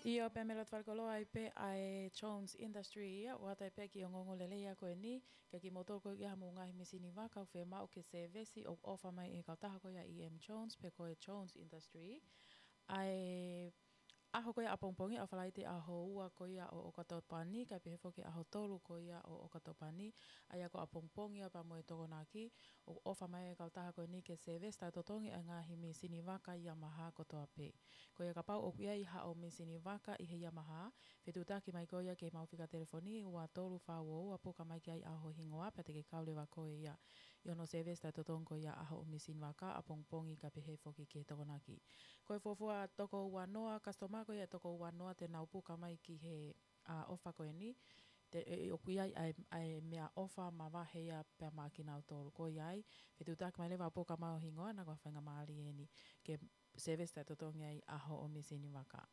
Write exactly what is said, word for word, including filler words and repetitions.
ʻIo, pea mei loto falekoloa ai pē ʻa e Jones Industry ia, ʻoatu ai pē ki he ongoongo lelei ia ko eni, ke kimoutolu ko ia ʻoku mou ngaahi mīsini vaka ʻoku fiemaʻu ke service, ʻoku ʻofa mai ʻe he kautaha ko ia E M Jones, pe ko e Jones Industry. ʻA e ʻaho ko ia ʻapongipongi, ʻa Falaite ʻaho ua ko ia ʻo ʻOkatopa ni, kae pehē foki ʻaho tolu ko ia ʻo ʻOkatopa ni, ʻa ia ko ʻapongipongi ia pea mo e Tokonaki, ʻoku ʻofa mai ʻe he kautaha ko eni ke service taʻetotongi ʻa e ngaahi mīsini vaka Yamaha kotoa pē. Ko ia kapau ʻoku ʻi ai haʻo mīsini vaka ʻi he Yamaha, fetuʻutaki mai ko ia ki heʻemau fika telefoni ua tolu fā ua ua, puka mai ki ai ʻa hoʻo hingoa, pea te ke kau leva ko ia ʻi hono service taʻetotongi ko ia ʻa hoʻo mīsini vaka ʻapongipongi kae pehē foki ki he Tokonaki. Ko e fuofua toko ua noa, customer ko ia ʻe toko ua noa te nau puka mai ki he, ʻa, ʻofa ko eni, te, ʻe, ʻe, ʻoku ʻi ai ʻa e, ʻa e meʻaʻofa mavahe ia pea maʻa kinautolu. Ko ia ai, fetuʻutaki mai leva ʻo puka mai hoʻo hingoa, na ko e faingamālie eni ke service taʻetotongi ai ʻa hoʻo mīsini vaka.